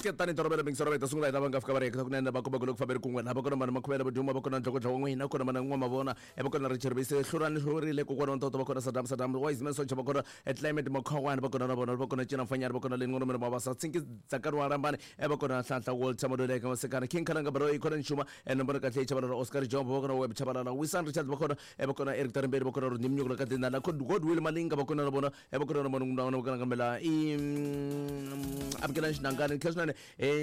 Kasi ke tani tolovela mingisoro va hi ta sungula hi lava nga fika va ri hekta kunene va komba ku loko famberi kun'we laha va kona mani makhuvela vuduma va kona ndlokodlo wa n'wina kona mana n'wa mavona va kona Richard Bise hlurani hlurile kokwana wa ntoto va kona Saddam Saddam Wise Man Socha va kona Climate Makhawani va kona na vona va kona Cina Mfanyana va kona Leni Ngomelo Mabasa Tsinki Dzakani wa Rambani va kona Nhlanhla Walter Madoleke Masekana King Khalanga Baloyi kona Nxuma Nomboro kahle Chabalala Oscar Jombo va kona Web Chabalala Wisan Richard va kona va kona Eric Tarimbeli va kona Rodney Mnyuku la Kadina la Godwill Malinga va kona na vona va kona na vona na vona kambela i Abigail Xinangani Khesnane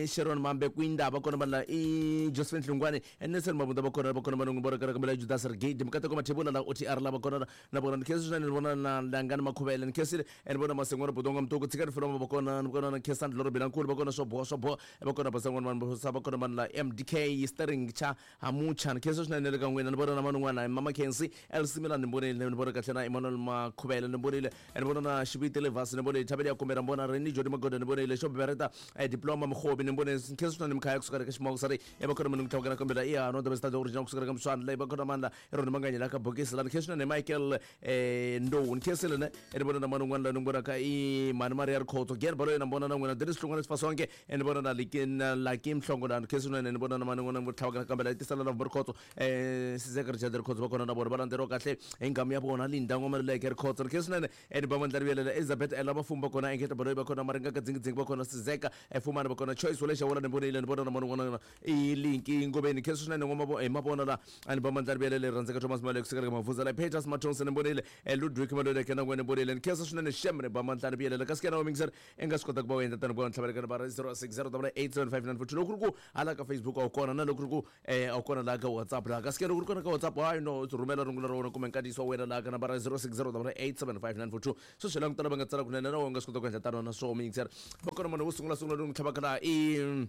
Sharon Mambe Kwinda va kona vanhu i Josephine Hlungwani Nelson Mabunda va kona va kona vanhu va kona kambela Judas Rigidi Mukateko Mathebula la OTR la va kona na vona ni khensile swinene ni vona na Langani Makhuvele ni khensile ni vona Masengwana Budonga Mtuku Tshikani Filoma va kona ni vona na Khensani Dloro Bilankulu va kona swo boha swo boha va kona Basangwana vanhu va kona vanhu la MDK Sterling Cha Hamucha ni khensa swinene le ka n'wina ni vona na man'wana Mama Khensi LC Milan ni vonile ni vona kahle na Emmanuel Makhuvele ni vonile ni vona na Xiviti Levasi ni vonile Thabeli ya Kumera ni vona Reni Jody Magoda ni vonile Xo Bereta Diploma Mkhobi ni vonile ni khensa swinene Mkhaya kusuka ka Ximoko sari va kona munhu tlhavukela kombela i hano the best original kusuka ka Mswana leyi va kona mandla Roni Manganya la ka bokisi la ni khensa swinene Michael Ndou ni khensile ne ni vona na man'wana la ni vonaka i Mhani Maria Rikhotso Gen Baloyi na vona na n'wina Dennis Hlongwane Sifasonke ni vona na na Lucky Mhlongo la ni khensa swinene ni vona na man'wana vo tlhavukela kambela i tisala la Rikhotso Sizeka Richard Rikhotso va kona na vona va landzeriwa kahle hi nghamu ya vona Linda N'wamaluleke Rikhotso ni khensa swinene ni ba mandla rivelela Elizabeth Ella Vafumi va kona Engeta Baloyi va kona Maringa ka Dzingidzingi va kona Sizeka Fumani va kona Choice Wole Xawula ni vonile ni vona na man'wana i Linki Ngobeni khensa swinene hi mavona la ni ba mandla rivelela rhandzeka Thomas Malek kusukela ka Mavuza la Peters Mathonsi ni vonile Ludwig Maluleke na n'wina ni vonile ni khensa swinene xem ni ba mandla rivelela kasi kena wa mingiseri i nga swi kota ku va u endla tano ku va ntlhavelekano va 0608875942 loko ku ri ku hala ka Facebook a wu kona na loko ku ri ku a wu kona laha ka WhatsApp laha kasi ke loko ku ri kona ka WhatsApp hayi no rhumela rungula ra wena kumbe nkandziyiso wa wena laha ka nambara 0608875942 sweswi langutela va nga tsala kunene na wena u nga swi kota ku endla tano na swoho miyingiseri va kona munhu wo sungula sungula lowu n'wi tlhavaka laha i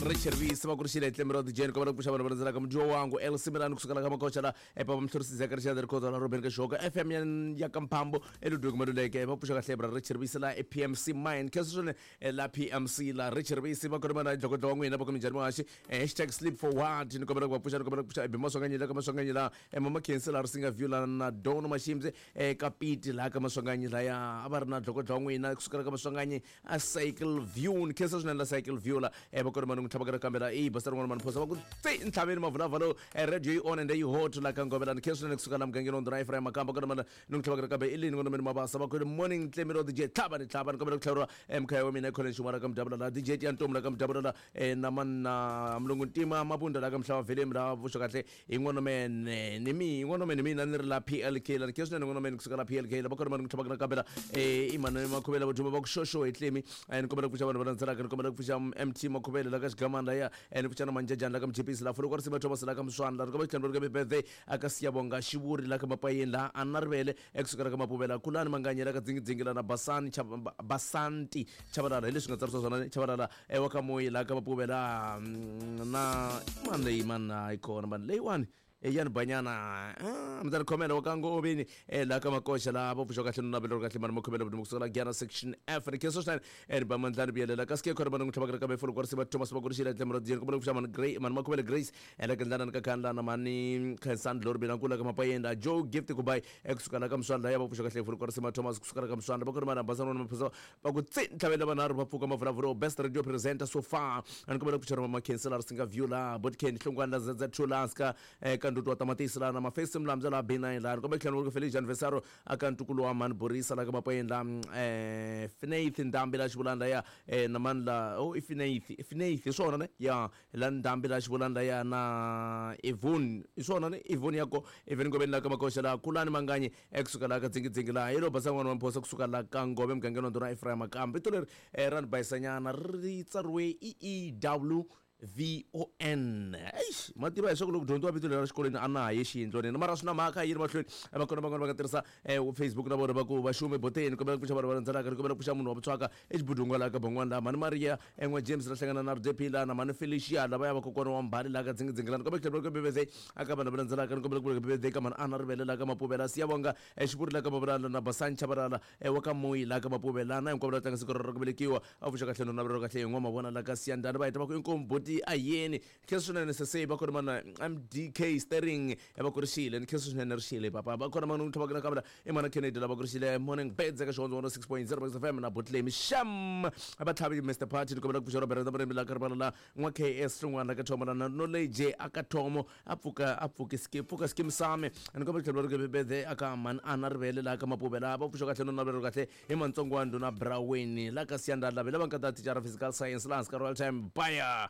Richard Visi va ku ri xile tlemi ra DJ ni kombela ku pfuxa vanhu va landzelaka mudyiwa wangu El Simelani kusuka la ka Makocha la ePapa Mhlorisi Zeka Richard Rikhoza la Robin Kashoka FM ya ya ka Mphambo eLudwig Maluleke va pfuxa kahle bra Richard Visi la ePMC Mine khensa swinene la PMC la Richard Visi va kona mana dlokodlo wa n'wina va ku minjhani muhaxi hashtag sleep for what ni kombela ku va pfuxa ni kombela ku pfuxa Ebi Maswanganyi la ka Maswanganyi la Mama Khensi la Risinga View la na Dono Mashimzi ka Piti la ka Maswanganyi laya a va ri na dlokodlo wa n'wina kusukela ka Maswanganyi a Cycle View ni khensa swinene la Cycle View la va kona mani n'wi tlhava ka kambela i basa rin'wana mani phosa va ku tsi ntlhaveni mavulavula radio yi on and yi hot la ka Ngovela ni khensa swinene kusuka la mugangeni wa Ndhuna Ephraim Makamba kona mani ni n'wi tlhava ka kambe i lini n'wana mani mabasa va ku morning Tlemilo DJ tlhava ni tlhava ni kombela ku tlhaveriwa mkhaya wa mina ekhona xin'wana ka mudabula la DJ Tiyantomu la ka mudabula la na mani na mulungu ntima mabunda la ka mhlava velemi la vuxa kahle hi n'wana mene ni mi n'wana mene mina ni ri la PLK la ni khensa swinene n'wana mene kusuka la PLK la va kona mani ku tlhava ka kambela i mani Makhuvele va duma va ku xoxo hi tlemi ni kombela ku pfuxa vanhu va landzelaka ni kombela ku pfuxa MT Makhuvele la ka xigamani laya ni pfuxa na Manjajani la ka Mchipisi la Fulukwa Risiva Thomas la ka Mswana la ni kombela ku tlhela ka birthday aka Siyabonga Xivuri la ka Mapayeni la Anna Rivele ekusukela ka Mapuvela Kulani Manganye la ka Dzingidzingi la na Basani Basanti Chabalala hi leswi nga tsarisiwa swona Chabalala wa ka Moyi la ka Mapuvela na mani leyi mani hayi kona mani leyiwani yani banyana mi ta ni khomela wa ka Ngoveni laha ka Makoxa laha va pfuxa kahle no navela kahle mani makhomela vutomi kusuka la Giyana section F ni khensa swinene ni ba mandlani vuyelela kasi ke khona mani n'wi tlhavaka kambe folo kwarisiva Thomas Makurixile tlemo ra Diyeni kombela ku pfuxa mani Grey mani Makhomele Grace la ka Ndlana ni ka Khandla na mani Khensani Glory Bilankulu la ka Mapayenda Joe Gift Kubai kusuka la ka Mswana la ya va pfuxa kahle folo kwarisiva Thomas kusuka la ka Mswana va kona mani Basana na Maphosa va ku tsi ntlhavela vanharhu va pfuka mavulavuro best radio presenter so far a ni kombela ku pfuxa mama Khensela ri singa view la Botken Hlongwane la ZZ2 la ska ka ndutu wa tamatisi la na Mafesi Mlamza la B9 la ni kombela ku tlhela ku Felicia Anniversary aka ntukulu wa mani Borisa la ka Mapayeni la Finaith Ndambi la xivulani la ya na mani la oh i Finaith Finaith hi swona ne ya la Ndambi la xivulani la ya na Evon hi swona ne Evon ya ko Evon Ngobeni la ka Makoxa la Kulani Manganyi ekusuka la ka Dzingidzingi la hi lo basa n'wana wa Mphosa kusuka la ka Ngove mugangeni wa Ndhuna Ephraim Makamba vito leri ra ni bayisanyana ri tsariwe E E W V O N eish ma tiva leswaku loko dyondziwa vito leri ra xikolweni a na ha ye xiyindlwanini mara swi na mhaka yi ri mahlweni va kona van'wana va nga tirhisa Facebook na vona va ku va xume boteni kombela ku pfuxa vanhu va landzelaka ni kombela ku pfuxa munhu wa vutswaka exibudunga laha ka ban'wana laha mhani Maria en'we James la hlangana na Rudephi laha na mhani Felicia lava ya va kokwana wa Mbali laha ka Dzingidzingi laha ni kombela ku tlhela ku birthday aka vanhu va landzelaka ni kombela ku birthday ka mhani Ana Rivele laha ka Mapuvela Siyabonga Xivuri laha ka Mavulala na Basani Chabalala wa ka Moyi laha ka Mapuvela na hinkwavo lava tlanga siku ra ku velekiwa a pfuxa kahle no navela kahle hi n'wa mavona laha ka Siyandhani va heta va ku inkomu buti. Boti Ayeni khensa swinene sese va kona mana MDK Sterling va kurixile ni khensa swinene rixile papa va kona mana tlhava na kamera i mana Kennedy lava kurixile morning beds eka Xihondzo 106.0 Max FM na Botlemi Sham va tlhavi Mr Party ni kombela ku pfuxa Robert Rambe la karibala la n'wa KS Hlongwana ka Thomo na Knowledge aka Thomo a pfuka a pfuki ski pfuka skim sami ni kombela ku tlhela ri bede aka man ana rivele la ka Mapuvela va pfuxa kahle no navelo kahle hi Mantsongo wa ndhuna Braweni la ka Siyanda Lave lava nga ta thicara physical science la hansi ka Royal Time Baya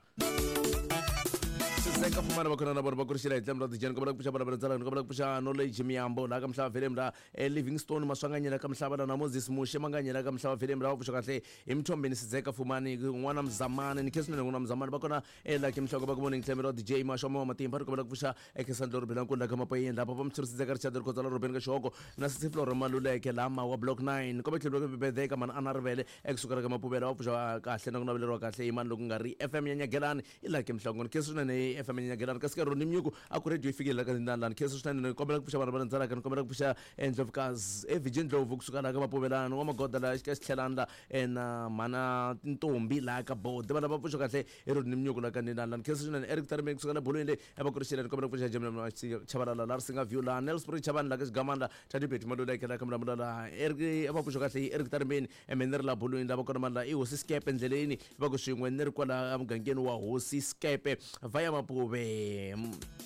Siseka fumana va khona na vona va kurixela hi tlhelo ra dijeni kombela ku pfuxa vana va ni kombela ku pfuxa Knowledge Miyambo la ka Mhlava Velem la Livingstone Maswanganyela ka Mhlava la na Moses Mushe Manganyela ka Mhlava Velem la va pfuxa kahle hi Mthombeni Sizeka Fumani n'wana Mzamani ni khensa swinene n'wana Mzamani va kona Lucky Mhloko va ku morning tlhelo ra DJ Mashomo wa Matimba ri kombela ku pfuxa Ekesandlo Rubela Nkundla ka Mapayeni lapha va Mthuri Sizeka Richard Rikhotsa la Robeni ka Xihoko na Sisi Flora Maluleke la Mawa Block 9 kombe tlhelo ka Bibede ka Mana Ana Rivele ekusukela ka Mapuvela va pfuxa kahle na ku naveleriwa kahle hi mani loko nga ri FM ya Nyagelani i Lucky Mhlongo ni khensa swinene FM ya Nyagelani kasi ka Ronnie Mnyuku a ku radio yi fikile la ka Ndandani khensa swinene ni kombela ku pfuxa vanhu va landzelaka ni kombela ku pfuxa Ndlovukazi Evijin Ndlovu kusuka la ka Mapuvelani wa Magoda la ka Xitlhelani la na Mhana Ntombi la ka Bode va lava pfuxa kahle hi Ronnie Mnyuku la ka Ndandani khensa swinene Eric Tarimeni kusuka la bolweni leyi va kurixile ni kombela ku pfuxa Jamila Chabalala la Risinga View la Nelspruit Chavani la ka Xigamani la Tati Betty Maluleke la ka Mulamula la Eric va pfuxa kahle Eric Tarimeni ni ri la bolweni la va kona mani la i Hosi Skepe endleleni va ku swin'we ni ri kwala emugangeni wa Hosi Skepe va ya Mapuve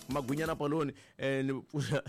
Magwinyana Paloni ni pfuxa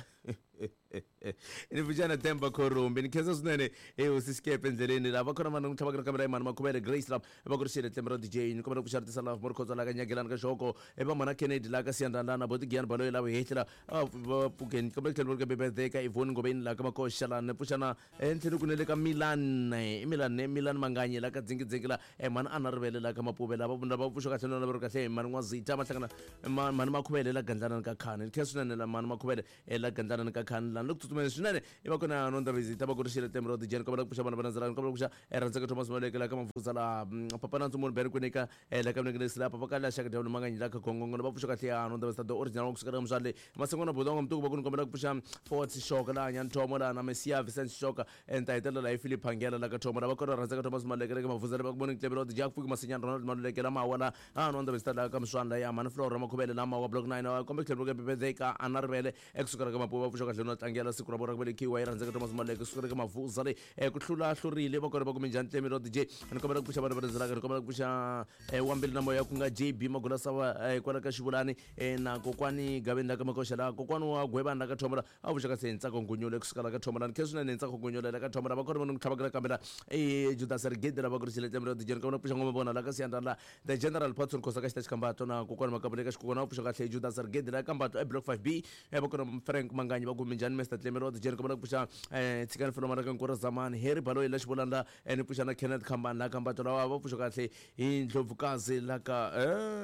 ni pfuxa na Themba Khorumbi ni khensa swinene i Hosi Skepe endleleni la va kona mani n'wi tlhavaka na kamera mani Makhuvele Grace la va ku ri xile tlembe ra DJ ni kombela ku pfuxa ritisa la Morkhotso la ka Nyagelani ka Xoko e va Mhana Kennedy la ka Siyandandana Boti Giyani Baloyi la Vuhehli la va pfukeni kombela ku tlhela va ri ka birthday ka Yvonne Ngobeni la ka Makoxa la ni pfuxa na ntlhelo ku ne le ka Milan i Milan ne Milan Manganyi la ka Dzingidzingi la mhani Ana Rivele la ka Mapuve la va va pfuxa kahle na va ri kahle mhani N'wazita va hlangana mhani Makhuvele la Gandlana ka Khani ni khensa swinene la mhani Makhuvele la Gandlana ka Khani la ni le ku tsutsumeni swinene i va kona no Ndabezitha va ku ri xile tlembe ra DJ ni kombela ku pfuxa vana va landzelaka ni kombela ku pfuxa Rhandzeka Thomas Maleke la ka Mafuza la Papa Nandzu Munhu Bere Kwinika la ka Mnengelesi la Papa Kala Xaka Dyawulo Manganyi la ka Gongongo va pfuxa kahle ya no Ndabezitha the original wa kusuka ka Muswale Masengwana Bodongo Mtuku va ku ni kombela ku pfuxa Fort Xoka la Nyanthomo la na Messia Vincent Xoka ni ta hetelela la hi Philip Phangela la ka Thomo la va kona Rhandzeka Thomas Maleke la ka Mafuza la va ku morning tlembe ra DJ Fuki Masinyana Ronald Maluleke la Mawa la no Ndabezitha la ka Muswana la ya Mhani Flora Makhuvele la Mawa Block 9 kombe tlhelo ka birthday ka Ana Rivele ekusukela ka Mapuva va pfuxa kahle no tlangela siku ra vona ra ku velekiwa yi Rhandzeka Thomas Maleke kusukela ka Mavuza le ku hlula hlurile va kona va kume njhani tlembe ra DJ ni kombela ku pfuxa vanhu va landzelaka ni kombela ku pfuxa wa mbilu na moya ku nga JB Magula Sava kwala ka Xivulani na kokwani Gaveni la ka Makoxa la kokwani wa Gwevani la ka Thomo la a pfuxa kahle hi Ntsako Ngunyule kusukela ka Thomo la ni khensa swinene hi Ntsako Ngunyule la ka Thomo la va kona va ni tlhavaka kambe la Judas Rigidi la va ku ri xile tlembe ra DJ ni kombela ku pfuxa ngoma vona la ka Siyanda la The General Patson Khosa ka Xitachi Kambato na kokwani Makabule ka Xikokwana va pfuxa kahle Judas Rigidi la Kambato e Block 5B va kona Frank Manganyi va ku minjhani Mr Tlembe ra DJ ni kombela ku pfuxa Tshikani Filoma la ka Nkura Zamani Harry Baloyi la Xivulani la ni pfuxa na Kenneth Khambani la Kambato lawa va pfuxa kahle hi Ndlovukazi la ka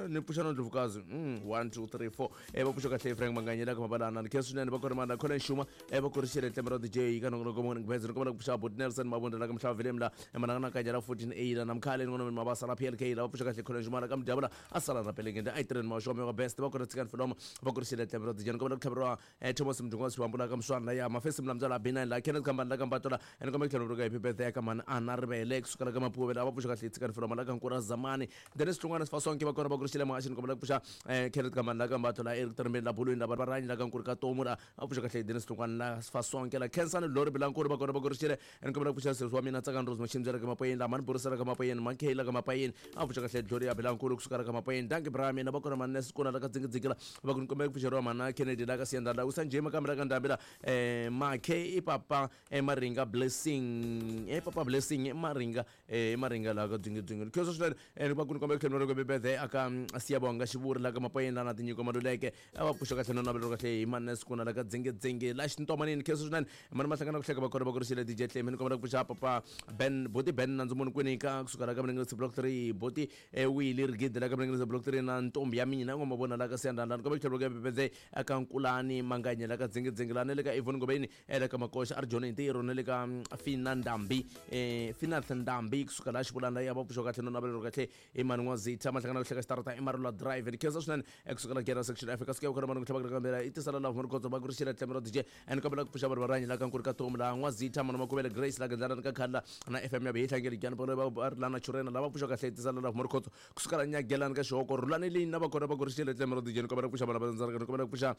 ni pfuxa na Ndlovukazi 1 2 3 4 va pfuxa kahle Frank Manganyi la ka Mabalana ni khensa swinene va kona mana Colin Shuma va kurixile tlembe ra DJ ka nongonoko morning beds ni kombela ku pfuxa Bot Nelson Mabunda la ka Mhlava Vilem la Manangana Kanya la 14A la Namkhale ni ngona Mabasa la PLK la va pfuxa kahle Colin Shuma la ka Mdyabula a sala na Pelengende a Itreni Mashome wa best va kona Tshikani Filoma va kurixile tlembe ra DJ ni kombela ku tlhaveriwa Thomas Mdungwa Sibambu la ka Muswana la ya Mafesi Mlamza la B9 la Kenneth Khambani la ka Mbato la ni kombela ku tlhaveriwa ka happy birthday ya ka Mhani Ana Rivele kusukela ka Mapuve la va pfuxa kahle Tshikani Filoma la ka Nkura Zamani Dennis Hlongwane Sifasonke va kona va kurixile Muhaxi ni kombela ku pfuxa Kenneth Khambani la ka Mbato la Eric Tarimbeni la Bulweni la Varanyi la ka Nkuri ka Tomu la va pfuxa kahle Dennis Hlongwane la Sifasonke la Khensani Lori Bilankulu va kona va kurixile ni kombela ku pfuxa sesi wa mina Tsakani Rose Machimbyela ka Mapayeni la Mhani Borisela ka Mapayeni Mankey la ka Mapayeni a pfuxa kahle Gloria Bilankulu kusuka la ka Mapayeni Dankie bra mina va kona Mhani Sikuna la ka Dzingidzingi la va ku ni kombela ku pfuxeriwa Mhana Kennedy la ka Siyanda la Usa Njema kambe la ka Ndhambi la Makhe i papa Maringa Blessing papa Blessing Maringa Maringa la ka Dzingidzingi khensa swinene va ku ni kombela ku tlhela ni birthday aka Siyabonga Xivuri la ka Mapayeni la na Tinyiko Maluleke va pfuxa kahle no navelo kahle hi Mhani Sikuna la ka Dzingidzingi la Xintomanini khensa swinene mani mahlangana ku hleka va kona va kurixile DJ Tlemi ni kombela ku pfuxa papa Ben Boti Ben Nandzu Munhu Kwinika kusuka la ka Mlengesi Block 3 Boti Willy Rigidi la ka Mlengesi Block 3 na ntombi ya mina ngoma vona la ka Siyandanda ni kombela ku tlhela ku birthday aka Nkulani Manganye la ka Dzingidzingi la na le ka Ivon Ngobeni le ka Makoxa a ri joni hi ntirho na le ka Fina Ndambi Finath Ndambi kusuka laha xivulana ya va pfuxa kahle no navelelo kahle i mani n'wazitha mahlangana ku hleka xitarata i Marula Drive ni khensa swinene kusuka la Gera Section F ka suka khona mani ku tlhava kambela i tisala la vumani khotso va ku ri xila tlemero DJ and kombela ku pfuxa vanhu va rihanyo la ka nkuri ka tomu la n'wazitha mani makuvele Grace la gendlana ka khadla na FM ya bihihlangeli gyani polo va ri lana churena lava pfuxa kahle i tisala la vumani khotso kusuka la nyagelani ka xihoko rhulani leyi na va kona va ku ri xile tlemero DJ ni kombela ku pfuxa vanhu va ndzaraka ni kombela ku pfuxa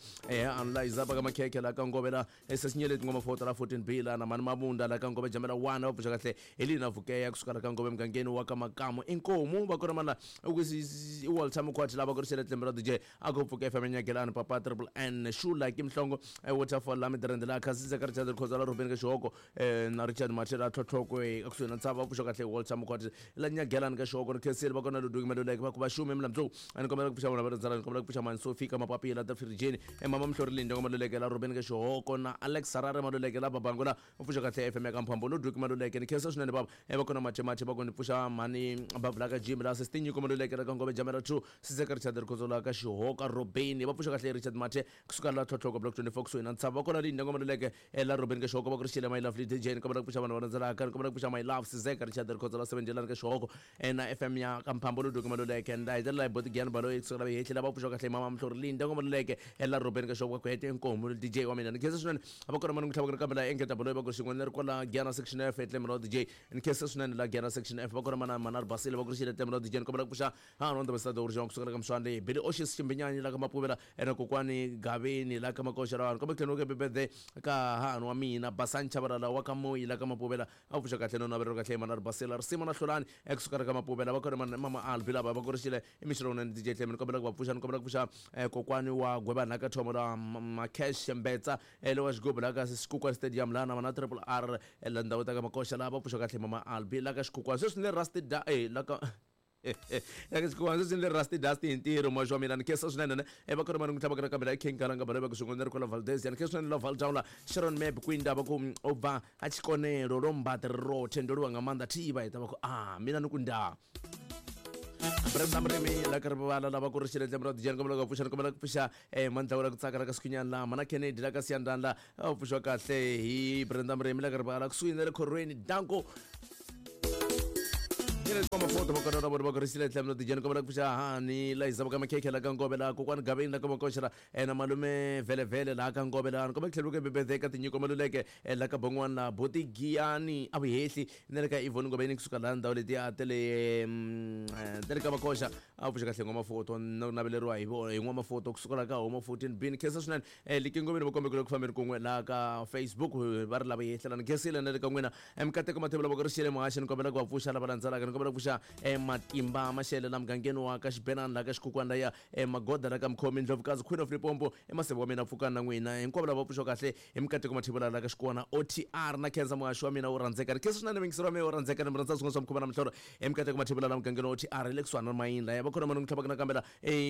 analyzer va ka makhekhe la ka ngovela sesinyeleti ngoma fota la 14 B la na mani mabunda la ka ngove jamela 1 va pfuxa kahle Helena Vukeya kusuka la ka ngove mugangeni wa ka Makamu inkomu va kona mana i Walter Mukhwati lava ku ri xile tlemero DJ a ku pfuka FM nyagelani papa triple N Shula ki Mhlongo waterfall la Midrand la Khasisa ka Richard Khoza la Ruben ka Xihoko na Richard Machela tlhotlhoko ekusuhi na ntshava va pfuxa kahle Walter Mukhwati la nyagelani ka Xihoko ri khensile va kona Ludwig Maluleke va ku va xume milamtso a ni kombela ku pfuxa vona va rindzela ni kombela ku pfuxa mani Sophie ka mapapila ta Firijeni mama Mhlorilini Ndongo Maluleke la Ruben ka Xihoko na Alex Harare Maluleke la Babango la u pfuxa kahle FM ya ka Mphambo Ludwig Maluleke ni khensa swinene bava va kona Mathe Mathe va ku ni pfuxa mhani Bavula ka Jim la Sesitinyiko Maluleke la ka Ngove Jamela 2 Siseka Richard Rikhotso la ka Xihoka Robeni va pfuxa kahle Richard Mathe kusuka la Tlhotlhoko Block 24 kusuhi na ntshava va kona Linda Ngoma Maluleke la Robeni ka Xihoko va ku ri xile My Lovely DJ ni kombela ku pfuxa vanhu va landzelaka ni kombela ku pfuxa My Love Sizeka Richard Rikhotso la 7 Jelani ka Xihoko na FM ya ka Mphambo Ludwig Maluleke nda hetelela hi Boti Giyani Baloyi kusuka la Vehehli lava pfuxa kahle Mama Mhlori Linda Ngoma Maluleke la Robeni ka Xihoko va ku hete inkomu DJ wa mina ni khensa swinene va kona mani ku tlhava kambe la engeta baloyi va ku xin'we ni ri kwala Giyana Section F eTlemelo DJ ni khensa swinene la Giyana Section F va kona mana mana ri basile va ku ri xile Tlemelo DJ ni kombela ku pfuxa ha no ndaba sida uri kusuka la ka Mswande Billy Oshis Ximbinyani la ka Mapuvela ena kokwani Gaveni la ka Makoxa la vanhu kombe tlhelo ke bebede ka hahani wa mina Basani Chabalala wa ka Moyi la ka Mapuvela a pfuxa kahle no navelelo kahle mana ri basile risimu na Hlulani ekusuka la ka Mapuvela va kona mama Albi lava va ku ri xile i mixo lowunene DJ Tlemi ni kombela ku va pfuxa ni kombela ku pfuxa kokwani wa Gwebana ka Thomo la Macash Mbetsa le wa xigubu la ka Xikukwana Stadium la na mana Triple R la ndhawu ta ka Makoxa la va pfuxa kahle mama Albi la ka Xikukwana sweswi ni le Rusty da la ka Xikukwana sweswi ni le Rusty Dust hi ntirho muhaxi wa mina ni khensa swinene ne va kona mani ku tlhava ka kambe la King Kalanga balo va ku swin'we ni ri kwala Valdez ni khensa swinene la Valdown la Sharon Map Kwinda va ku u bva a tshikonelo lo mbaḓi ri rothe ndo livha nga maanḓa thi vha ita va ku a mina ni ku nda Brenda Mrimi la ka ri vala lava ku ri xile lembe ra dijani kombela ku pfuxa ni kombela ku pfuxa mandla la ku tsaka la ka Sikhunyana la mana Kennedy la ka Siyandani la a pfuxiwa kahle hi Brenda Mrimi la ka ri vala kusuhi na le khorweni danko mafoto va kona vona va ku ri xile lembe ra dijani kombela ku pfuxa hani la hisa ka makhekhe la ka Ngove la kokwani Gaveni la ka Makoxa la na malume Vhelevhele laha ka Ngove la ni kombela ku tlhela ku bebede ka tinyiko Maluleke la ka Bon'wana la Boti Giyani a Vuhehli na le ka Ivon Ngobeni kusuka laha ndhawu letiya ta le ta le ka Makoxa a pfuxa kahle n'wamafoto na ku naveleriwa hi hi n'wamafoto kusuka laha ka Homa 14 bin khensa swinene Liki Ngobeni va kombekile ku fambeni kun'we laha ka Facebook va ri lava yehlelana ni khensile na le ka n'wina Mikateko Mathebula va ku ri xile muhaxi ni kombela ku va pfuxa lava landzelaka ni kombela ku pfuxa Matimba Mashele la mugangeni wa ka Xibenani laha ka Xikhukhwana laya Magoda la ka Mkhomi Ndlovukazi Queen of Limpopo emaseve wa mina pfukani na n'wina hinkwavo lava pfuxiwa kahle hi Mikateko Mathebula la ka Xikwana OTR na khensa muhaxi wa mina wo rhandzeka ni khensa swinene muyingiseri wa mina wo rhandzeka ni mi rhandza swin'wana swa mukhuva na mihlolo hi Mikateko Mathebula la mugangeni wa OTR hi le kusuhani na Mayini laya va khona mani ku tlhavaka nakambe la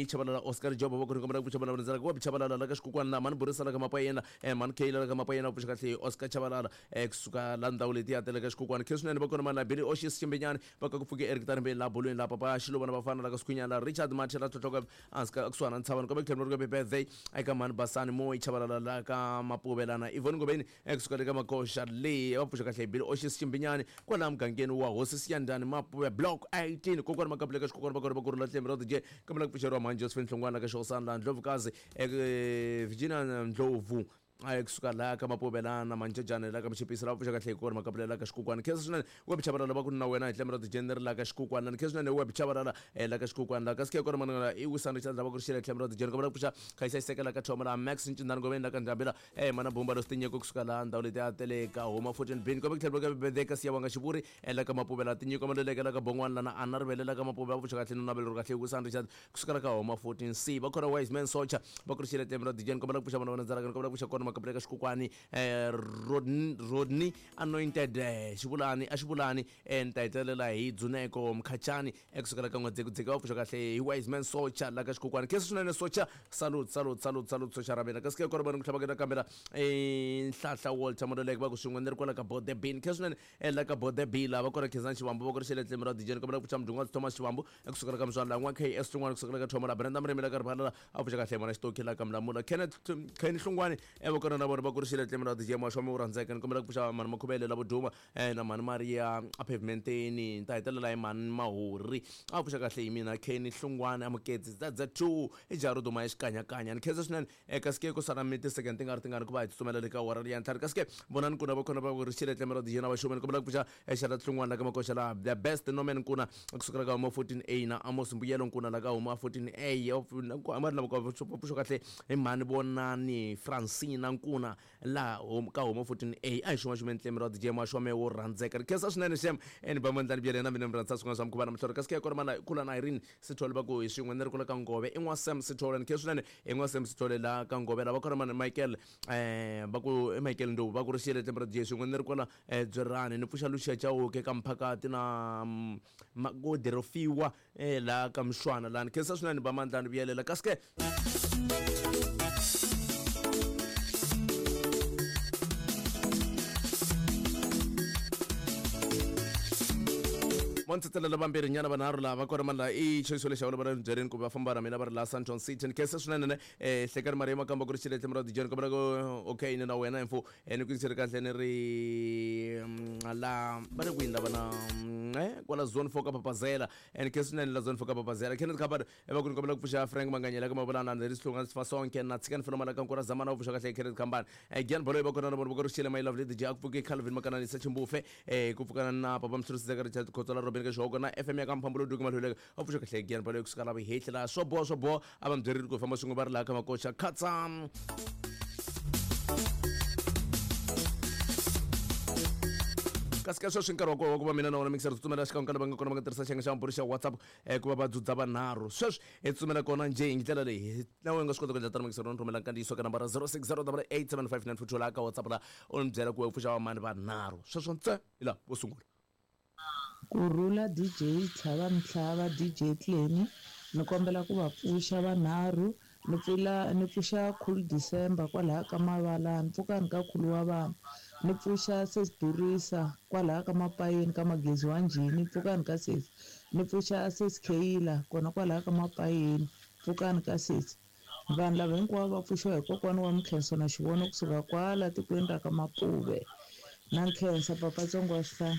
Chabalala Oscar Job va ku ri kombela ku pfuxa vana va landzelaka wa Chabalala la ka Xikhukhwana la mani Burisa la ka Mapayena mani Kayla la ka Mapayena va pfuxa kahle Oscar Chabalala kusuka la ndhawu letiya ta le ka Xikhukhwana khe swinene va kona mani la Billy Oshis Ximbinyani va ka ku pfuke Eric Tarembeni la bolweni la Papa Xiluva na vafana la ka Sikhunyana la Richard Mathe la tlhotlhoka hansi ka kusuhana na Ntshavani kombe ku tlhela ku birthday eka mani Basani Moyi Chabalala la ka Mapuvelana Yvonne Ngobeni kusuka le ka Makoxa le va pfuxa kahle Billy Oshis Ximbinyani kwalaha mugangeni wa Hosi Siyandhani Mapuve Block 18 kokwani Makapula ka Xikhukhwana va kona va kurhula Tlembe ra DJ kombela ku pfuxeriwa mhani Josephine Hlongwana la ka Xihosana la Ndlovukazi Virginia Ndlovu kusuka laha ka Mapuvelana Manjejane la ka Mchipisi la pfuxa kahle hi kona Makapula la ka Xikhukhwana khensa swinene web Chabalala va ku na wena hi tlembe ra DJ ri la ka Xikhukhwana ni khensa swinene web Chabalala la ka Xikhukhwana la ka sike kona mananga i wisana Richard la va ku ri xile tlembe ra DJ kombela ku pfuxa Khayisa Xiseke la ka Thoma la Max Ncindani Ngobeni la ka Ndhambila mana Bumba lo Sitinyeko kusuka laha ndhawu leti a tele ka Homa 14 bin kombe ku tlhela ka Bebede ka Siyabonga Xivuri la ka Mapuvela Tinyiko Maluleke la ka Bon'wana la na Anna Rivele la ka Mapuve va pfuxa kahle no naveleriwa kahle hi wisana Richard kusuka la ka Homa 14 C va khona Wise Man Socha va ku ri xile tlembe ra DJ ni kombela ku pfuxa vana va landzelaka ni kombela ku pfuxa kona Makapula ka Xikhukhwani Rodney Anointed Xivulani a Xivulani ni ta hetelela hi Dzuneko Mkhachani ekusukela ka N'wadzekudzeke va pfuxa kahle hi Wise Man Socha la ka Xikhukhwani khensa swinene Socha salute salute salute salute Socha ra mina kasi ke kona vana ku tlhava ka kambela Nhlahla Walter Mololeke va ku swin'we ni ri kwala ka Bode Bin khensa swinene la ka Bode B la va kona Khensani Xivambu va ku ri xile tlembe ra DJ ni kombela ku pfuxa Mdungwazi Thomas Xivambu ekusukela ka Mswani la n'wa KS Hlongwane kusukela ka Thoma la Brenda Mrimi la ka Rivala a pfuxa kahle mana Xitoki la ka Mlamula Kenneth Kenny Hlongwane va kona na vona va kurixile tlemela DJ Maxome u rhandzeka. Ni kombela ku pfuxa mhani Makhuvele lavo duma na mhani Maria a pavementeni. Ni ta hetelela hi mhani Mahori a pfuxa kahle hi mina Kenny Hlungwane Amuketsi ZZ2 i jaha ro duma xikanyakanya. Ni khensa swinene kasi ke ku sala mi ti-second ti nga ri tingani ku va hi tsutsumela le ka awara ya ntlhanu. Kasi ke vonani Nkuna va kona va kurixile tlemela DJ na Vaxome. Ni kombela ku pfuxa Xala Hlungwane la ka Makoxa la the best Norman Nkuna kusukela ka huma 14A na Amos Mbuyelo Nkuna la ka huma 14A. Amari lava va pfuxa kahle hi mhani Vonani Francina Nkuna la ka huma 14A. A hi xuma ntlemero wa DJ Maxome wo rhandzeka. Ri khensa swinene xem ni ba mandlani byele na mina mi rhandza swin'wana swa mikhuva na mihlolo. Kasi ke kona mana kula na Irene Sithole va ku hi swin'we ni ri kula ka Ngove i n'wa Sam Sithole. Ni khensa swinene i n'wa Sam Sithole la ka Ngove lava kona mana Michael va ku i Michael Ndovu va ku ri xile tlemero DJ swin'we ni ri kwala Dzwerani. Ni pfuxa Lucia Chauke ka Mphakati na Makodirofiwa la ka Mshwana la. Ni khensa swinene ba mandlani vuyelela. Kasi ke mo ntsetselela vambirhi nyana vanharhu lava kona mani laha i choice lexi va va byeleni ku va famba na mina va ri laha Sandton City. Ni khensa swinene ne Hlekani Maria Makamba ku ri xile tlhelo ra DJ. Ni kombela ku okay ni na wena info ni ku yingisele kahle ni ri la va le kwini lava na kwala zone 4 ka Papazela. Ni khensa swinene la zone 4 ka Papazela. Kenneth Khabane va ku ni kombela ku pfuxa Frank Manganyela ka Mavulana ni ri Sihlunga Sifasonke na Tshikani Filomala ka Nkura Zamana va pfuxa kahle Kenneth Khambane. Gian Baloyi va kona na vona va ku ri xile my lovely DJ a ku pfuki Calvin Makananisa Chimbufe ku pfukana na Papa Mhlurisi Zeka Richard Khotsola Robin ka Xihoko na FM ya ka Mphambulu Duke Malhuleka va pfuxa kahle Gian Baloyi kusuka la Vihehli la swo boha swo boha a va mi byerile ku famba swin'we va ri laha ka Makoxa Khatsa. Kasi ka sweswi nkarhi wa kona wa ku va mina na wona mixer tsutsumela xikan'we ka lava nga kona va nga tirhisa xiyenge xa mabulu xa WhatsApp ku va va dzudza vanharhu. Sweswi hi tsutsumela kona njhe hi ndlela leyi na wena u nga swi kota ku endla tano mixer u ni rhumela nkandziyiso ka nambara 0608875942 laha ka WhatsApp laha u ni byela ku we pfuxa vamani vanharhu. Sweswo ntse hi laha vo sungula. Kurhula DJ Tlhava Mtlhava DJ Clemy ni kombela ku va pfuxa vanharhu. Ni pfula ni pfuxa Khulu December kwalaha ka Mavalani pfukani ka Khulu wa vana. Ni pfuxa Sesi Durisa kwalaha ka Mapayeni ka Magezi wa Njhini pfukani ka sesi. Ni pfuxa Sesi Kheyila kona kwalaha ka Mapayeni pfukani ka sesi. Vanhu lava hinkwavo va pfuxiwa hi kokwana wa Mkhenso na Xivono kusuka kwala tikweni ra ka Mapuve. Na nkhensa papa Tsongo wa Xihlahla.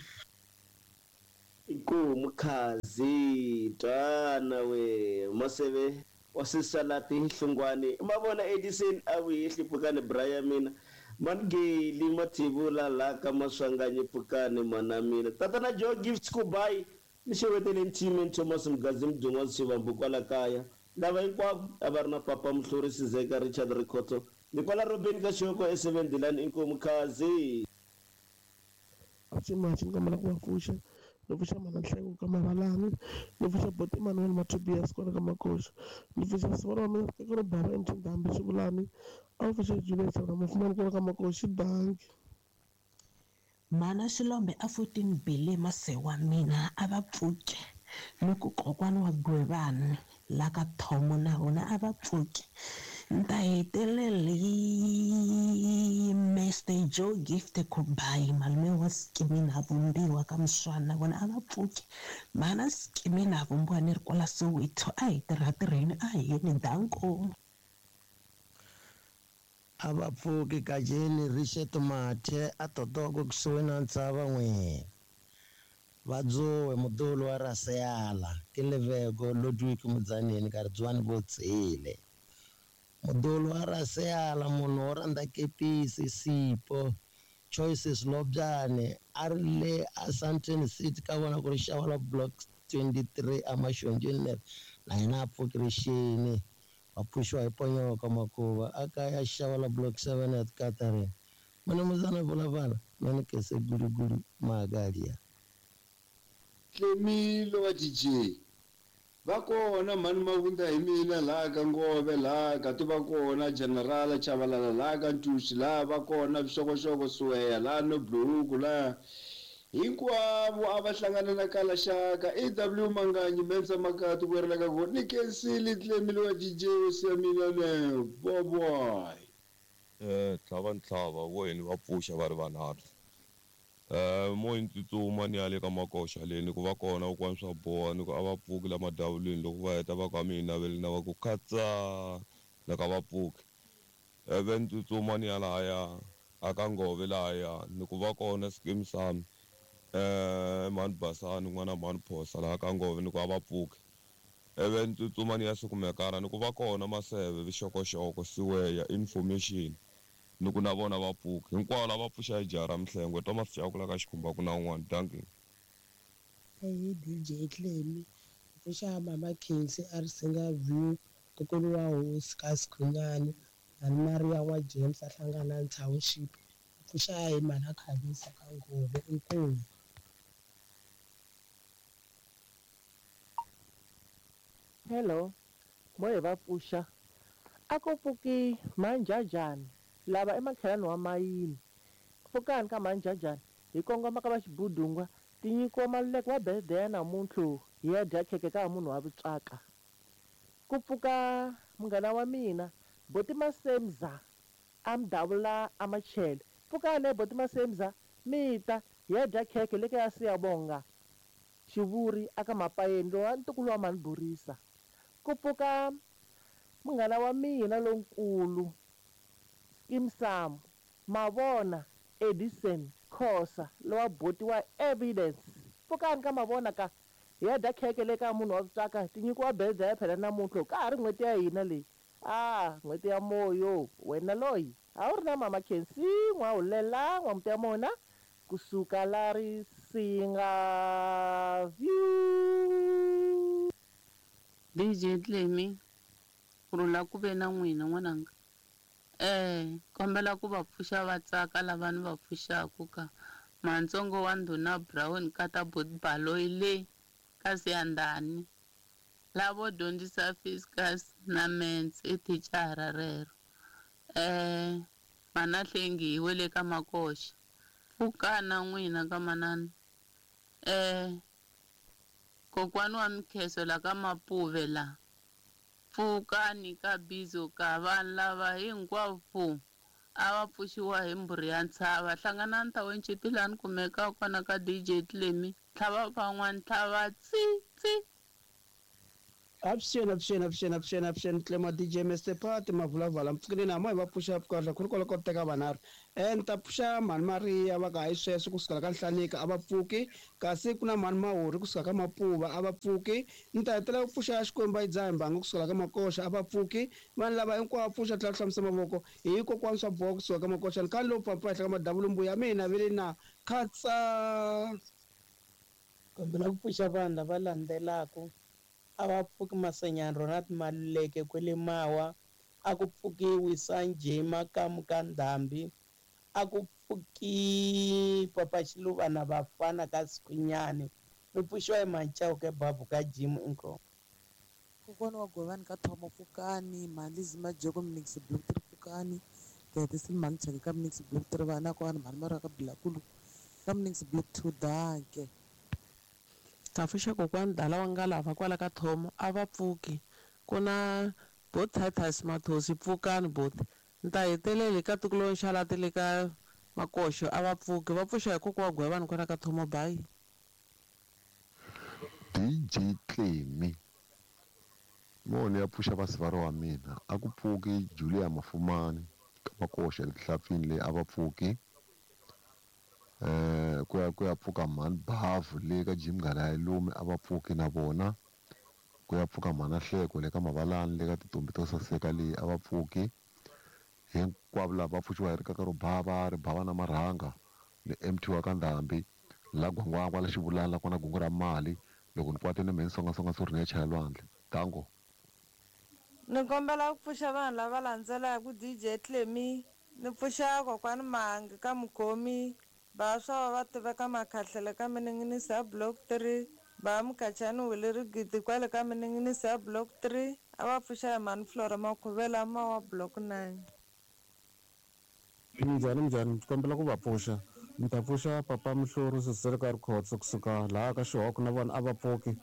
Inkomu Khazi twana we Maseve wa Sisalati Hlungwani mavona Edison a vuhehli pfukani Brian mina Mangeli Mathivula la ka Maswanganyi pfukani mana mina Tatana Joe Gifts Kubai ni xewetele Nthime Thomas Mgazi Mdun'wa Sivambu kwala kaya lava hinkwavo a va ri na Papa Mhlurisi Zeka Richard Rikhotso ni kwala Robin ka Xihoko e7 Dilani. Inkomu Khazi. Machi ni kombela ku va pfuxa. Ni pfuxa mana Nhleko ka Mavalani, ni pfuxa Boti Emmanuel Matobias kwala ka Makoxa, ni pfuxa sivana wa mina tiko ro bara MT Ndhambi Xivulani, a wu pfuxa Juliet na Mufumani kwala ka Makoxa danki. Mana Xilombe a 14 bele mase wa mina a va pfuke ni ku kokwana wa Gwevani la ka Thomo na vona a va pfuke. Ni ta hetelela hi Mr Joe Gift Kubai malume wa Skimina Vumbiwa ka Mswana vona a va pfuke. Mana Skimina Vumbiwa ni ri kwala Soweto a hi tirha tirheni a hi yeni danko. A va pfuki kajeni Richard Mathe a totoko kusuhi na ntshava n'we. Vadzowe mudolo wa Raseyala Kileveko Ludwig Mudzaneni Kardzwani Votsile. Mudolo wa Raseyala munhu wo rhandza kepisi Sipho Choices Lobyane a ri le a Sandton City ka vona ku ri xava la block 23 amaxonjeni na yena a pfukirixini va pfuxiwa hi ponyoka makuva a kaya xava la block 7 at Catherine. Mana muzana vulavala mani kese gulugulu magalia. Tlemilo wa DJ va kona mhani Mavunda hi mina laha ka Ngove laha ka ti va kona General Chabalala laha ka Ntuxi laha va kona Vixokoxoko Suweya laha Nobluhuku laha hinkwavo a va hlangana na Kalaxaka AW Manganyi Mensa Makati ku ri ka ku ni kensile Tlemilo wa DJ hosi ya mina ne boboy. Tlhava ntlhava wo yini va pfuxa va ri vanharhu. Mo tsutsuma ni ya le ka Makoxa le ni ku va kona kokwana swa boha ni ku a va pfuki la madavulweni loko va heta va ku a mi hi naveli na va ku khatsa na ka va pfuki. Ivi ni tsutsuma ni ya lahaya a ka Ngove lahaya ni ku va kona Skeem Saam mhani Basani n'wana mhani Phosa laha ka Ngove ni ku a va pfuki. Ivi ni tsutsuma ni ya Sukumekara ni ku va kona Maseve Vixokoxoko Siweya Information ni ku na vona va pfuki. Hinkwavo lava pfuxa hi jaha ra Mhlengwe Thomas Chauke la ka Xikhumba ku na un'wana. Dankie. Eyi DJ Clemy pfuxa mama Khensi a ri Singa View ntukulu wa hosi ka Sikhunyani mhani Maria wa James a hlangana township pfuxa hi mhana Khavisa ka Ngove inkomu. Hello, mo hi va pfuxa a ku pfuki manjajani lava i makhelwani wa mayini pfukani ka manjajani hi kongoma ka va xibudungwa tinyikiwa maluleke wa birthday ya namuntlha hi ya dya khekhe ka munhu wa vutswaka ku pfuka munghana wa mina boti Masemza a mudavula a machele pfukani boti Masemza mi ta hi ya dya khekhe le ka ya Siyabonga Xivuri aka Mapayeni lowa ntukulu wa mhani Borisa ku pfuka munghana wa mina lonkulu Skeem Saam Mavona Edison Khosa lowa boti wa Evidence pfukani ka Mavona ka hi ya dya khekhe le ka munhu wa vutswaka tinyikiwa birthday ya phela namuntlha ka ha ri n'hweti ya hina leyi a n'hweti ya moyo wena loyi a wu ri na mama Khensi n'wahulela n'wamuti ya mona kusuka la Risinga View. DJ Clemy ku rhula ku ve na n'wina n'wananga. Kombela ku va pfuxa va tsaka lava ni va pfuxaku ka Mantsongo wa Ndhuna Brown kata Baloyi le ka Siyandhani lavo dyondzisa Fiscus na Mens i thicara rero. Mana Hlengi hi wele ka Makoxa pfukana n'wina ka manana. Kokwani wa Mikheso la ka Mapuve la pfukani ka Bizo ka vanhu lava hinkwavo a va pfuxiwa hi mbhuri ya ntshava hlanganani township laha ni kumekaka kona ka DJ Clemy tlhava van'wani tlhava tsi tsi. Avuxeni avuxeni avuxeni avuxeni avuxeni Clema DJ Mr Party mavulavala mpfukeni na mo hi va pfuxa kahle ku ri kwala ko teka vanharhu ni ta pfuxa mhani Maria va ka hayi sweswo kusukela ka Nhlanika a va pfuki kasi ku na mhani Mahuri kusuka ka Mapuva a va pfuki ni ta hetelela ku pfuxa Xikwembu a yi dzaha mbanga kusukela ka Makoxa a va pfuki vanhu lava hinkwavo pfuxa tlhela hlamusa mavoko hi kokwani swa boha kusuka ka Makoxa ni khale lowu pampa henhla ka madavula mbuya mina ve le na khatsa. Kombela ku pfuxa vanhu lava landzelaka a va pfuki Masenyani Ronald Maluleke kwele Mawa a ku pfukiwi Sanjay Makamu ka Ndhambi a ku pfuki Papa Xiluva na vafana ka Sikhunyani mi pfuxiwa hi Manchauke Babu ka Jim inkomu. Kokwana wa Govani ka Thomo pfukani Mhani Majeko Minix Block 3 pfukani Gayetisi Mhani Chaka ka Minix Block 3 vana kwani Mhani Mara ka Bilakulu ka Minix Block 2 danke. Ta pfuxa kokwani Dala wa Ngalava kwala ka Thomo a va pfuki ku na bo Titus Mathosi pfukani boti ni ta heteleli ka tiko lo Nxalati le ka Makoxo a va pfuki va pfuxa hi kokwa wa Gwevani kwala ka Thomo bayi. DJ Clemy moni ya pfuxa vasivara wa mina a ku pfuki Julia Mafumani ka Makoxa etihlapfini leyi a va pfuki ku ya pfuka mhani Bavu le ka Jim Nghala ya Lume a va pfuki na vona ku ya pfuka mhana Hleko le ka Mavalani le ka Tintombi to Saseka leyi a va pfuki hinkwavo lava va pfuxiwa hi rikaka ro bava ri bava na marhanga ni MT wa ka Ndhambi la Gwangwangwa la Xivulana la kona gungu ra mali loko ni kwate ni mhe ni songasonga swo ri ni ya chaya lwandle tango. Ni kombela ku pfuxa vanhu lava landzelaka DJ Clemy ni pfuxa kokwani Mangi ka Mukhomi vaswa va tiveka Makhahlele ka Mininginisi ya Block 3 va Mukachani Wile Rigidi kwale ka Mininginisi ya Block 3 a va pfuxa hi mhani Flora Makhuvela ma wa Block 9. Minjhani minjhani ni kombela ku va pfuxa ni ta pfuxa Papa Mhlori Sisele ka Rikhotso kusuka laha ka Xihoko na vona a va pfuki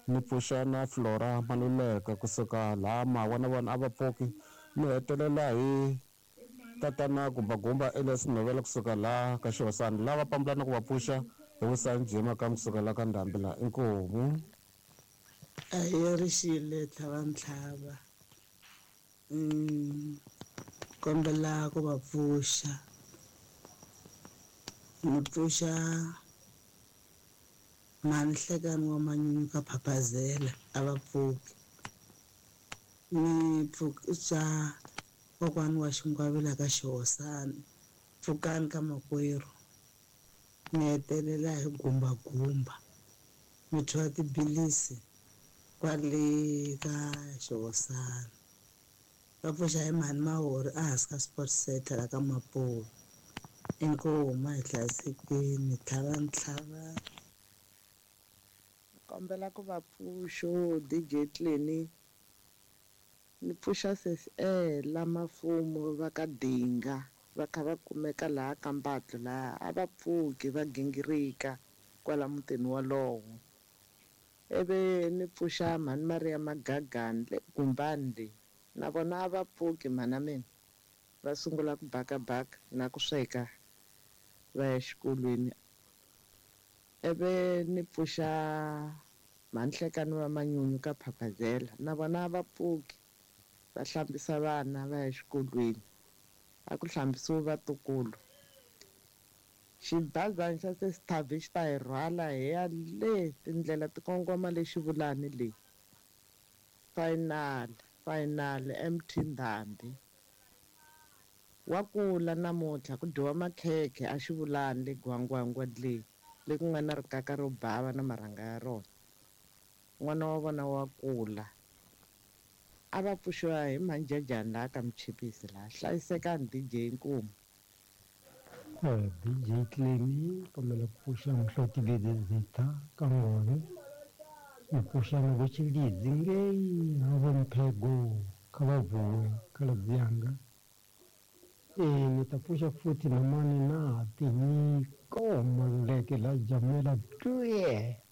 ni pfuxa na Flora Maluleka kusuka laha Mawa na vona a va pfuki ni hetelela hi tatana Gumbagumba Elias Novela kusuka laha ka Xihosana lava pambulana ku va pfuxa hi Vusanjhe Makamu kusuka laha ka Ndhambi laha inkomu. A yi rixile tlhava ntlhava. Kombela ku va pfuxa. Ni pfuxa mhani Hlekani wa Manyunyu ka Phaphazela a va pfuki. Ni pfuxa kokwani wa Xingwavila ka Xihosana, pfukani ka makwerhu. Ni hetelela hi gumbagumba mi thwa tibilisi kwale ka Xihosana. Va pfuxa hi mhani Mahori ehansi ka Sport Center la ka Mapuve. Inkomu a hi hlayisekeni tlhava ntlhava. Ni kombela ku va pfuxo DJ Clenny ni pfuxa sesi Ella Mafumo va ka Dinga va kha va kumeka laha ka Mbatlo laha a va pfuki va gingirika kwala mutini wolowo ivi ni pfuxa mhani Maria Magagani le Gumbani le na vona a va pfuki mhana mina va sungula ku bakabaka na ku sweka va ya xikolweni ivi ni pfuxa mhani Hlekani va Manyunyu ka Phaphazela na vona a va pfuki va hlambisa vana va ya xikolweni a ku hlambisiwi vatukulu xibazana xa sesi Thavi xi ta hi rhwala hi ya le tindlela ti kongoma le Xivulani le final final MT Ndhambi wa kula namuntlha ku dyiwa makhekhe a Xivulani le Gwangwangwa le le ku nga na rikaka ro bava na marhanga ya rona n'wana wa vona wa kula a va pfuxiwa hi manjejani laha ka Mchipisi laha hlayisekani DJ Nkumu. DJ Clemy kombela ku pfuxa Muhloti Zitha ka Ngove ni pfuxa na vo Tshilidzi ngei na vo Mphego kha va vuwe khaladzi yanga ni ta pfuxa futhi na mani na Tinyiko Maluleke la Jamela twe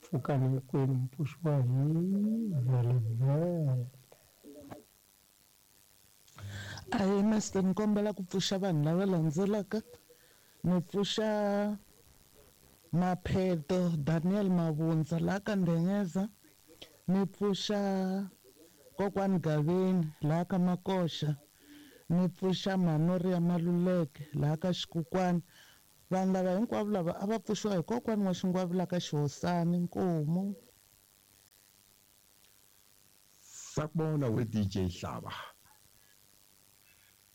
pfukani hinkwenu mi pfuxiwa hi Vhelevhele. Ahee master ni kombela ku pfuxa vanhu lava landzelaka ni pfuxa Mapheto Daniel Mavundza laha ka Ndengeza ni pfuxa kokwani Gaveni laha ka Makoxa ni pfuxa Manoria Maluleke laha ka Xikukwani vanhu lava hinkwavo lava a va pfuxiwa hi kokwani wa Xingwavila ka Xihosani Nkomu. Sakubona we DJ Hlaba.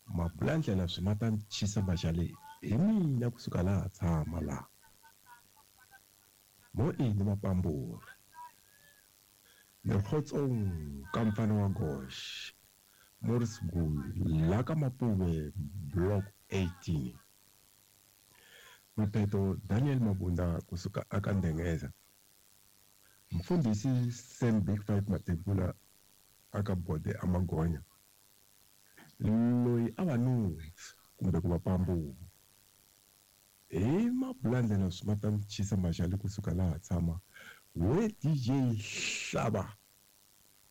Mabulandlela swi ma ta chisa maxale hi mina kusuka laha tshama laha. Mo ini mapamburi. Lekgotsong ka mfana wa Gosh. Morris Gulu la ka Mapuve block 18. Mapheto Daniel Mabunda kusuka aka Ndengeza. Mfundhisi Sam Big Five Mathebula aka Bode Amagonya. Loyi a va nuhwi kumbe ku va pambuwa. Hi mabulandlela swi ma ta chisa maxale kusuka laha tshama we DJ Hlaba.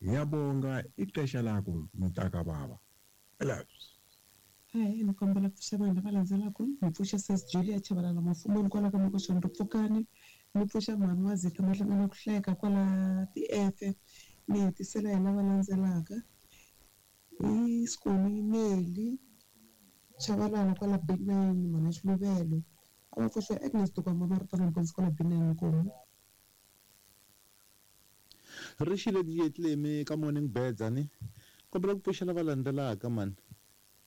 Ngiyabonga ixesha lakho mntaka baba. Hayi ni kombela ku pfuxa vanhu lava landzelaka ni pfuxa sis Julia Chabalala Mafumuni kwala ka Makoxani ri pfukani ni pfuxa mhani wa Zitha Mahlangana ku hleka kwala tiefe ni hetisela hi lava landzelaka hi Skoni Neli Chabalala kwala B9 mhana Xiluvelo a va pfuxa Agnes Tukwamba Maritana Mponzi kwala B9 Nkomu. Ri xile DJ Clemy ka Morning Birds ni kombela ku pfuxa lava landzelaka mani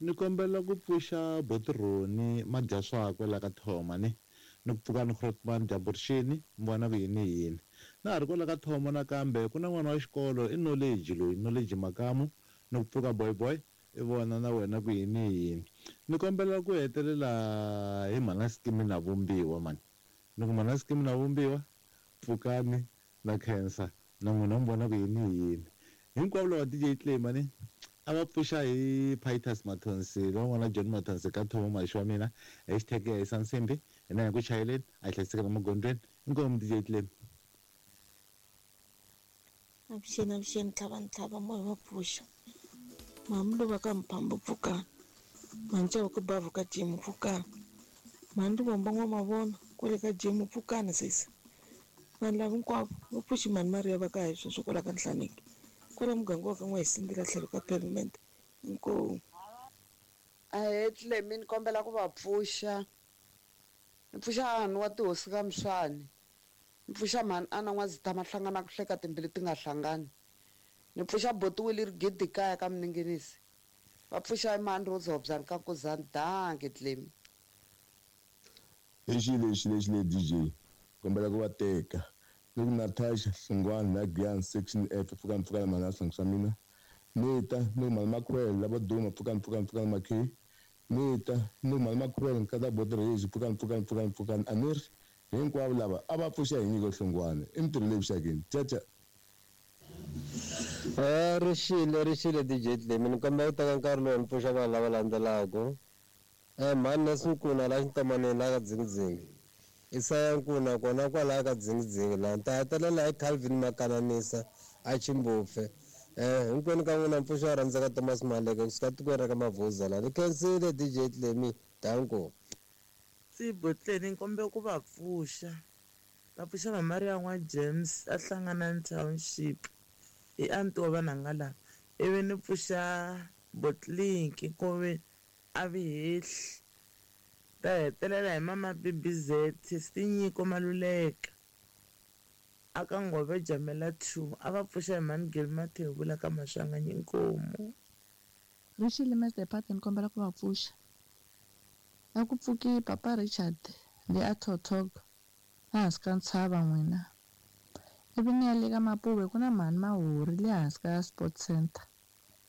ni kombela ku pfuxa Botironi madya swakwe la ka Thoma ni ni ku pfuka ni Grootman dyambu rixini mi vona ku yini yini na ha ri kwala ka Thoma nakambe ku na n'wana wa xikolo i Knowledge loyi Knowledge Makamu ni ku pfuka boy boy i vona na wena ku yini yini ni kombela ku hetelela hi mhana Skimi na Vumbiwa mani ni ku mhana Skimi na Vumbiwa pfukani na khensa na n'wina mi vona ku yini yini hinkwavo lava DJ Clemy ni a va pfuxa hi Pitus Mathonsi lowun'wana John Mathonsi ka Thomo Maxi wa mina hashtag ya hisa nsimbi hina hi ku chayeleni a hi hlayiseka na magondzweni inkomu DJ Clemy. Avuxeni avuxeni tlhava ntlhava moya wa pfuxa mhani ka Mphambo pfukani mhani Chava ku bavhu ka Jimu pfukani mhani Rivombo N'wamavona kwale ka Jimu pfukani sesi vanhu lava hinkwavo va pfuxi mhani Maria va ka hi sweswo kwala ka Nhlaneki kwala muganga wa ka N'wahisindela tlhelo ka pavement inkomu. Ahee Tlemi ni kombela ku va pfuxa. Ni pfuxa hahani wa tihosi ka Mswani. Ni pfuxa mhani Ana N'wazitha mahlangana ku hleka timbilu ti nga hlangani. Ni pfuxa boti Willie Rigidi kaya ka Mninginisi. Va pfuxa i mhani Rose Hobyani ka Nkuzani. Dankie Tlemi. I xilo lexi lexi le DJ kombela ku va teka ni ku Natasha Hlungwani la Giyani section F pfukani pfukani mhani a swihlangi swa mina ni ta ni ku mhani Makhwele lavo duma pfukani pfukani pfukani Makhe ni ta ni ku mhani Makhwele nkata boti Rhezi pfukani pfukani pfukani pfukani a ni ri hinkwavo lava a va pfuxa hi nyiko Hlungwani i mintirho leyi vuxakeni caca. Ri xile ri xile DJ Tlemi ni kombela ku teka nkarhi lowu ni pfuxa vanhu lava landzelaka. Mhani Nancy Nkuna laha xintomaneni laha ka Dzingidzingi. Isaya Nkuna kona kwalaya ka Dzingidzingi laha. Ni ta hetelela hi Calvin Makananisa a Chimbufe. Hinkwenu ka n'wina mpfuxo wa rhandzeka Thomas Maleke kusuka tikweni ra ka Mavhuza laha. Ni khensile DJ Tlemi. Danko. Tsibo Tleni ni kombela ku va pfuxa. Va pfuxa Mamaria n'wa James a Hlanganani Township hi anti wa vanhanga lava. Ivi ni pfuxa Botlinki ku a vi hehli. Ta hetelela hi mama BBZ Tinyiko Maluleka a ka Ngove Jamela 2 a va pfuxa hi mhani Gil Mathevula ka Maswanganyi Inkomu. Rixile Mister Party ni kombela ku va pfuxa. A ku pfuki Papa Richard le a Thothog ehansi ka ntshava n'wina. Ivi ni ya le ka Mapuve ku na mhani Mahori le hansi ka Sport Center.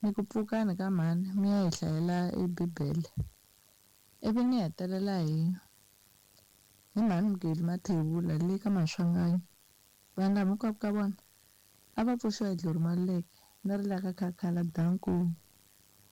Ni ku pfukani ka mhani mi ya hi hlayela e Bibele. Ivi ni hetelela hi hi mhani Mugeli Mathevula le ka Maswanganyi. Vanhu lava hinkwavo ka vona a va pfuxiwa hi Glory Maluleke ni ri la ka Khakhala danko.